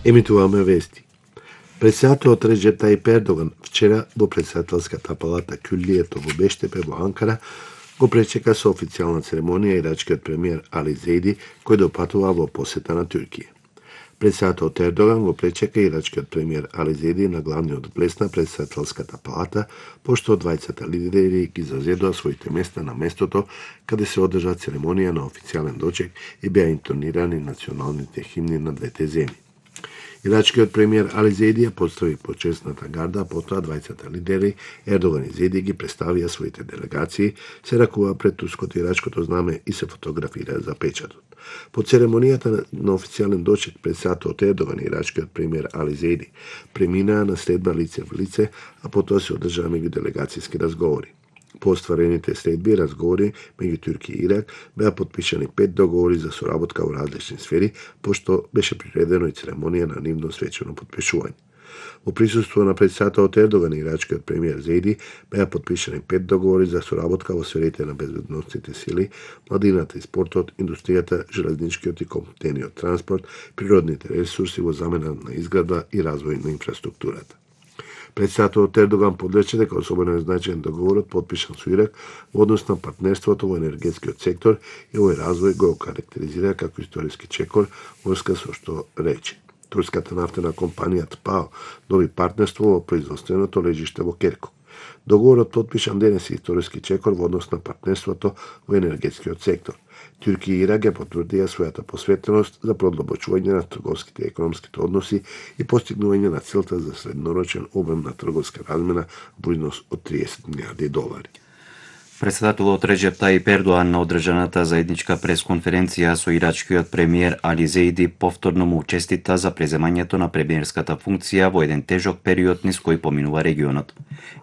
Емитуваме вести. Председателот Реджеп Тајип Ердоган вчера во председателската палата Кюллието во Бештепе во Анкара го пречека со официјална церемонија ирачкиот премиер Али Зейди, кој допатува во посета на Туркија. Председателот Ердоган го пречека ирачкиот премиер Али Зейди на главниот влез на председателската палата, пошто двајцата лидери ги зазедоа своите места на местото каде се одржа церемонија на официјален дочек и беа интонирани националните химни на двете земји. Ирачкиот премиер Али Зейди ја поздрави почесната гарда, а потоа двајцата лидери Ердоган и Зейди ги представија своите делегации, се ракува пред турското и ирачкото знаме и се фотографира за печатот. По церемонијата на официјален дочек председателот Ердоган и ирачкиот премиер Али Зейди преминаа на следба лице в лице, а потоа се одржаа меѓуделегацијски разговори. По остварените следби и разговори меѓу Туркија и Ирак беа потпишани 5 договори за соработка во различни сфери, пошто беше приредено и церемонија на нивно свечено потпишување. Во присуство на председателот Ердоган и ирачкиот премиер Зейди беа потпишани 5 договори за соработка во сферите на безбедносните сили, младината и спортот, индустријата, железничкиот и комутениот транспорт, природните ресурси во замена на изградба и развој на инфраструктурата. Председателот Ердоган подрече дека особено е значаен договорот потпишан со Ирак во однос на партнерството во енергетскиот сектор и овој развој го карактеризира како историски чекор, врска со што рече. Турската нафтена компанија ТПАО доби партнерство во производственото лежиште во Керкук. Договорот потпишан денес е историски чекор во однос на партнерството во енергетскиот сектор. Туркија и Ирак ја потврдија својата посветеност за продлабочување на трговските и економските односи и постигнување на целта за среднорочен обем на трговска размена во износ од $30 милиарди. Председателот Реджеп Тајип Ердоган на одржаната заедничка пресконференција со ирачкиот премиер Али Зейди повторно му честита за преземањето на премиерската функција во еден тежок период низ кој поминува регионот.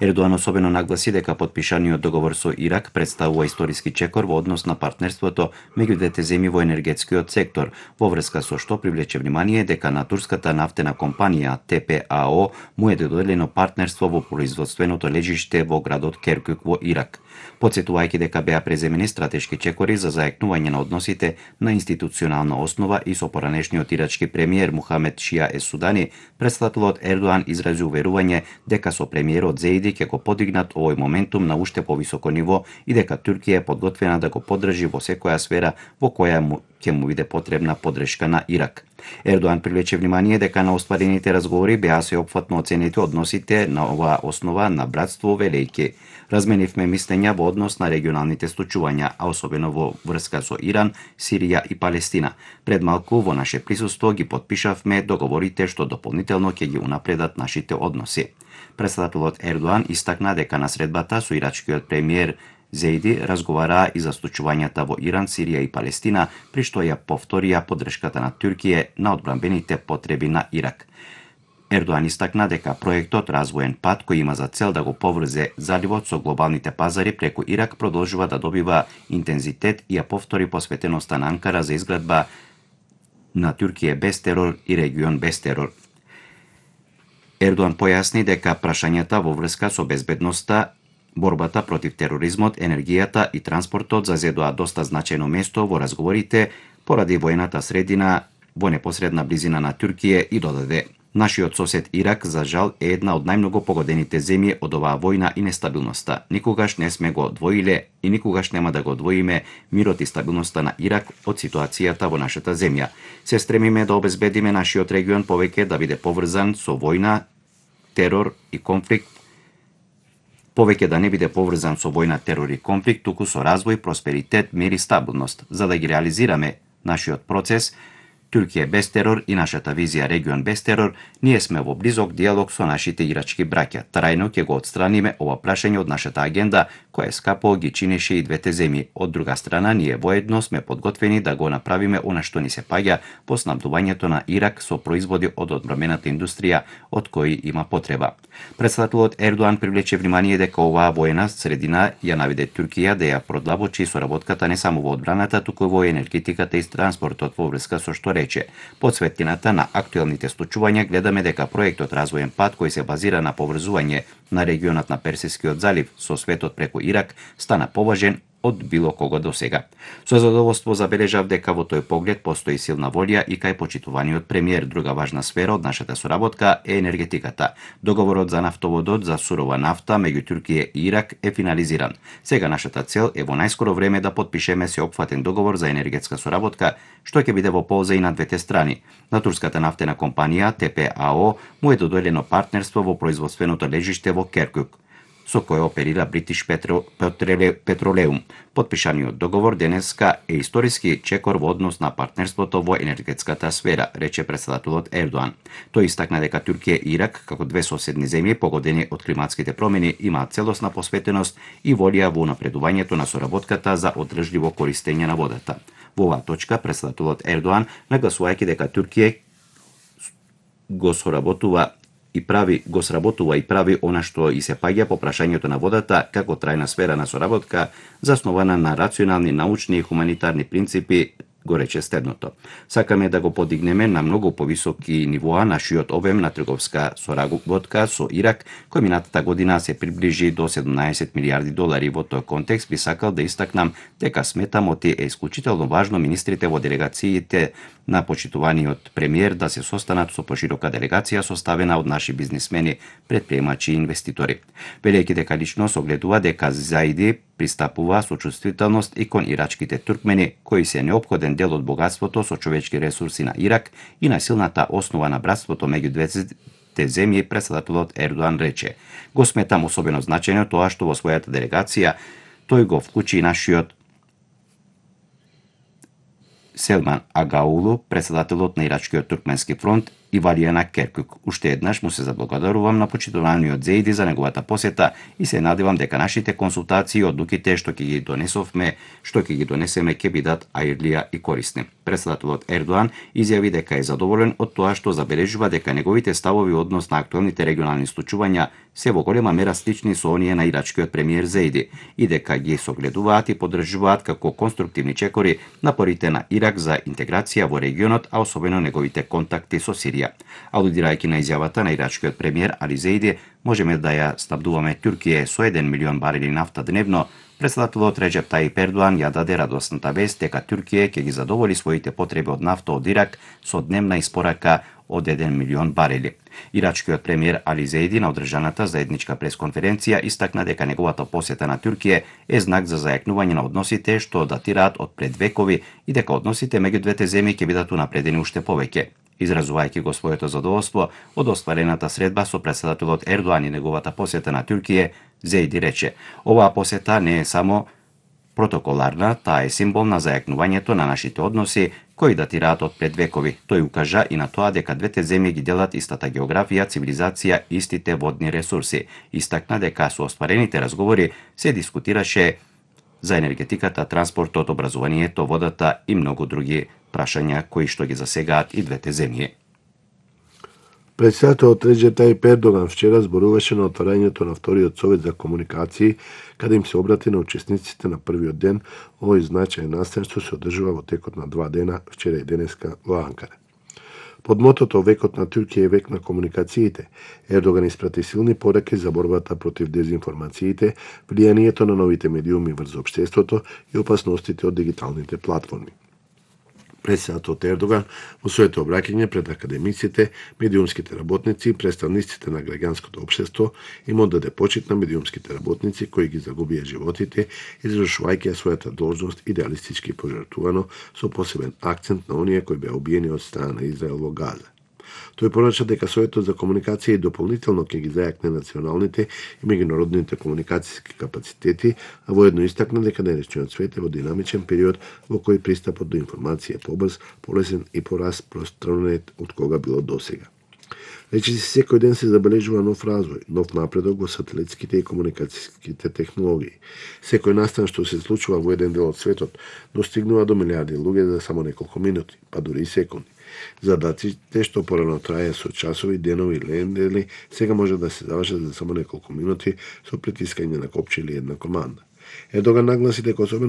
Ердоган особено нагласи дека потпишаниот договор со Ирак представува историски чекор во однос на партнерството меѓу двете земји во енергетскиот сектор, во врска со што привлече внимание дека на турската нафтена компанија ТПАО му е доделено партнерство во производственото лежиште во градот Керкук во Ирак. Подсетувајќи дека беа преземени стратешки чекори за зајакнување на односите на институционална основа и со поранешниот ирачки премиер Мухамед Шија Ес-Судани, председателот Ердоган изрази уверување дека со премиерот Зейди ќе го подигнат овој моментум на уште повисоко ниво и дека Туркија е подготвена да го поддржи во секоја сфера во која ќе му биде потребна поддршка на Ирак. Ердоган привлече внимание дека на остварените разговори беа сеопфатно оценети односите на оваа основа на братство велејки. Разменивме мислења во однос на регионалните случувања, а особено во врска со Иран, Сирија и Палестина. Пред малку во наше присуство ги потпишавме договорите што дополнително ќе ги унапредат нашите односи. Председателот Ердоган истакна дека на средбата со ирачкиот премиер Зейди разговараа и за случувањата во Иран, Сирија и Палестина, при што ја повторија поддршката на Туркија на одбранбените потреби на Ирак. Ердоган истакна дека проектот Развоен пат, кој има за цел да го поврзе заливот со глобалните пазари преку Ирак, продолжува да добива интензитет и ја повтори посветеноста на Анкара за изградба на Туркија без терор и регион без терор. Ердоган појасни дека прашањата во врска со безбедноста, борбата против тероризмот, енергијата и транспортот зазедоа доста значајно место во разговорите поради воената средина во непосредна близина на Туркија и додаде: Нашиот сосед Ирак, за жал, е една од најмногу погодените земји од оваа војна и нестабилноста. Никогаш не сме го одвоиле и никогаш нема да го одвоиме мирот и стабилноста на Ирак од ситуацијата во нашата земја. Се стремиме да обезбедиме нашиот регион повеќе да биде поврзан со војна, терор и конфликт, повеќе да не биде поврзан со војна, терор и конфликт, туку со развој, просперитет, мир и стабилност. За да ги реализираме нашиот процес, Туркија без терор и нашата визија регион без терор, ние сме во близок диалог со нашите ирачки браќа. Трајно ќе го отстраниме ова прашање од нашата агенда, која скапо ги чинеше и двете земји. Од друга страна, ние воедно сме подготвени да го направиме она што ни се паѓа по снабдувањето на Ирак со производи од одбранбената индустрија, од кои има потреба. Председателот Ердоган привлече внимание дека оваа воена средина ја наведе Туркија да ја продлабочи соработката не само во одбраната, туку во енергетиката и транспортот, во врска со што рече: под светлината на актуелните случувања гледаме дека проектот Развоен пат, кој се базира на поврзување на регионот на Персискиот залив со светот преку Ирак, стана поважен од било кого до сега. Со задоволство забележав дека во тој поглед постои силна волја и кај почитуваниот премиер. Друга важна сфера од нашата соработка е енергетиката. Договорот за нафтоводот за сурова нафта меѓу Туркија и Ирак е финализиран. Сега нашата цел е во најскоро време да потпишеме сеопфатен договор за енергетска соработка, што ќе биде во полза и на двете страни. На турската нафтена компанија ТПАО му е доделено партнерство во производственото лежиште во Керкук, со кој оперира British Petroleum. Потпишаниот договор денеска е историски чекор во однос на партнерството во енергетската сфера, рече претседателот Ердоан. Тој истакна дека Туркија и Ирак, како две соседни земји погодени од климатските промени, имаат целосна посветеност и волја во напредувањето на соработката за одржливо користење на водата. Во оваа точка претседателот Ердоан, нагласувајќи дека Туркија го сработува и прави она што и се паѓа по прашањето на водата како трајна сфера на соработка заснована на рационални, научни и хуманитарни принципи, го рече следното. Сакаме да го подигнеме на многу повисоки нивоа нашиот обем на трговска соработка со Ирак, кој минатата година се приближи до 17 милиарди долари. Во тој контекст би сакал да истакнам дека сметам оти е исклучително важно министрите во делегациите на почитуваниот премиер да се состанат со поширока делегација составена од наши бизнисмени, предприемачи и инвеститори. Велејќи дека лично согледува дека Заиди пристапува со чувствителност и кон ирачките туркмени, кои се неопходен дел од богатството со човечки ресурси на Ирак и на силната основа на братството меѓу двете земји, претседателот Ердоан рече. Го сметам особено значајно тоа што во својата делегација тој го вклучи и нашиот Селман Агаулу, претседателот на Ирачкиот туркменски фронт, и Валијана Керкук. Уште еднаш му се заблагодарувам на почитуваниот Зеиди за неговата посета и се надевам дека нашите консултации и одлуките што ќе ги донесеме ќе бидат аирлија и корисни. Претседателот Ердоан изјави дека е задоволен од тоа што забележува дека неговите ставови однос на актуелните регионални случувања се во голема мера слични со оние на ирачкиот премиер Зеиди и дека ги согледуваат и поддржуваат како конструктивни чекори напорите на Ирак за интеграција во регионот, а особено неговите контакти со Сирија. Алудирајќи на изјавата на ирачкиот премиер Али Зеиди, можеме да ја снабдуваме Туркија со 1 милион барели нафта дневно. Претседателот Реджеп Таип Ердоан ја даде радосната вест дека Туркија ќе ги задоволи своите потреби од нафта од Ирак со дневна испорака од 1 милион барели. Ирачкиот премиер Али Зеиди на одржаната заедничка пресконференција истакна дека неговата посета на Туркија е знак за зајакнување на односите што датираат од пред векови и дека односите меѓу двете земји ќе бидат унапредени уште повеќе. Изразувајќи го своето задоволство од остварената средба со претседателот Ердоан и неговата посета на Туркија, Зеиди рече: оваа посета не е само протоколарна, таа е символ на зајакнувањето на нашите односи кои датираат од пред векови. Тој укажа и на тоа дека двете земји ги делат истата географија, цивилизација и истите водни ресурси. Истакна дека со остварените разговори се дискутираше за енергетиката, транспортот, образованието, водата и многу други прашања кои што ги засегаат и двете земји. Претседателот Реджеп Таип Ердоган вчера зборуваше на отварањето на вториот совет за комуникации, каде им се обрати на учесниците на првиот ден. Овој значаен настан што се одржува во текот на 2 дена, вчера и денеска во Анкара. Под мотото "Векот на Туркија е век на комуникациите", Ердоган испрати силни пораки за борбата против дезинформациите, влијанието на новите медиуми врз општеството и опасностите од дигиталните платформи. Претседателот Ердоган во своето обраќање пред академиците, медиумските работници и представниците на граѓанското општество им оддаде почит на медиумските работници кои ги загубија животите, извршувајќи својата должност идеалистички пожртвувано со посебен акцент на оние кои беа убиени од страна на Израел во Газа. Тој порача дека Советот за комуникација дополнително ќе ги зајакне националните и меѓународните комуникацијски капацитети, а воедно истакна дека денешниот свет е во динамичен период во кој пристапот до информација е побрз, полесен и пораспространет од кога било досега. Речиси секој ден се забележува нов развој, нов напредок во сателитските и комуникацијските технологии. Секој настан што се случува во еден дел од светот достигнува до милиарди луѓе за само неколку минути, па дури и секунди. Задаците што порано трае со часови, денови или недели, сега може да се завршат за само неколку минути со притискање на копче или една команда. Ердоган нагласи дека особено